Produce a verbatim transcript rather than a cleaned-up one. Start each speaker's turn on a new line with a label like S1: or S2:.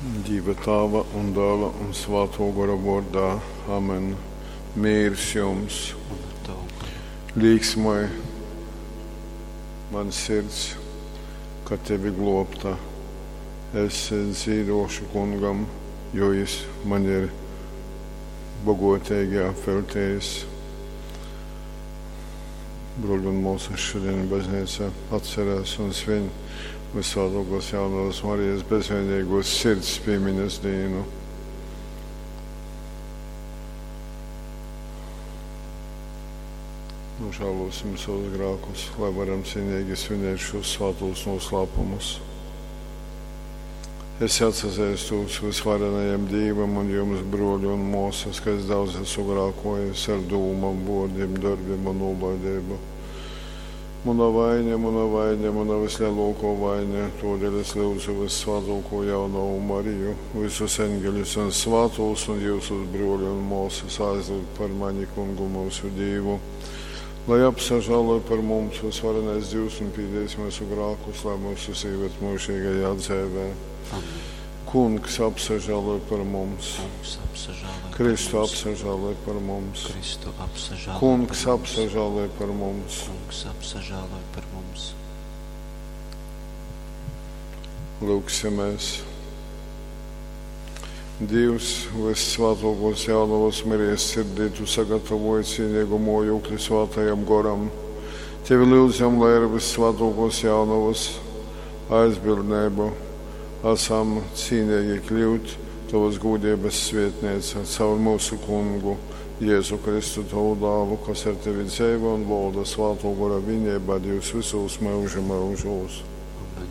S1: Dīva Tāva un Dāla un Svātō Gora vōrdā. Amen. Mīrs jums!
S2: Un ar tavu goru.
S1: Līksmoj man sirds, ka tevi glōbta. Es dzīdōšu kungam, jo jis man ir bogoteigi apveltējis. Bruļi un māsas, šodien baznīca atcerās un svin Visvētākās Jaunavas Marijas bezvainīgos sirds piemiņas dienu. Nožēlosim savus grēkus, lai varam cienīgi svinēt šos svētos noslēpumus. Es atsazīstos visvarenajam Dievam un jums, broļi un māsas, ka es daudz esmu grēkojis ar dūmām, vārdiem, darbiem un nolaidību. Mana vaina, mana vaina, mana vislielākā vaina, todēļ es lūdzu vissvētāko jaunavu Mariju, visus eņģeļus un svētos un jūsus broļi un māsas aizlūgt par mani kungu mūsu Dievu. Lai apsažāloj par mums visvarenais Dievs un pīdēs mūsu grēkus, lai mūsu ieved mūžīgajā dzīvē.
S2: Amen.
S1: Kungs apsažāloj par mums.
S2: Kungs apsažāloj par
S1: Kristu
S2: mums.
S1: apsažāloj par mums.
S2: Kristu apsažāloj
S1: Kungs
S2: par mums.
S1: apsažāloj par mums.
S2: Kungs apsažāloj par mums.
S1: Lūksimies. Dievs, vissvētākos jaunavas Marijas sirdī, tu sagatavoji cienīgu mojokli svētajam goram. Tevi lūdzam, lai ar vissvētākos jaunavas aizbildnību esam cienīgi kļūt tavas gūdības svietnīca caur mūsu kungu Jēzu Kristu tavu dālu, kas ar tevi dzīvo un valda svēto gora vienībā Dievs visos mūža mūžos.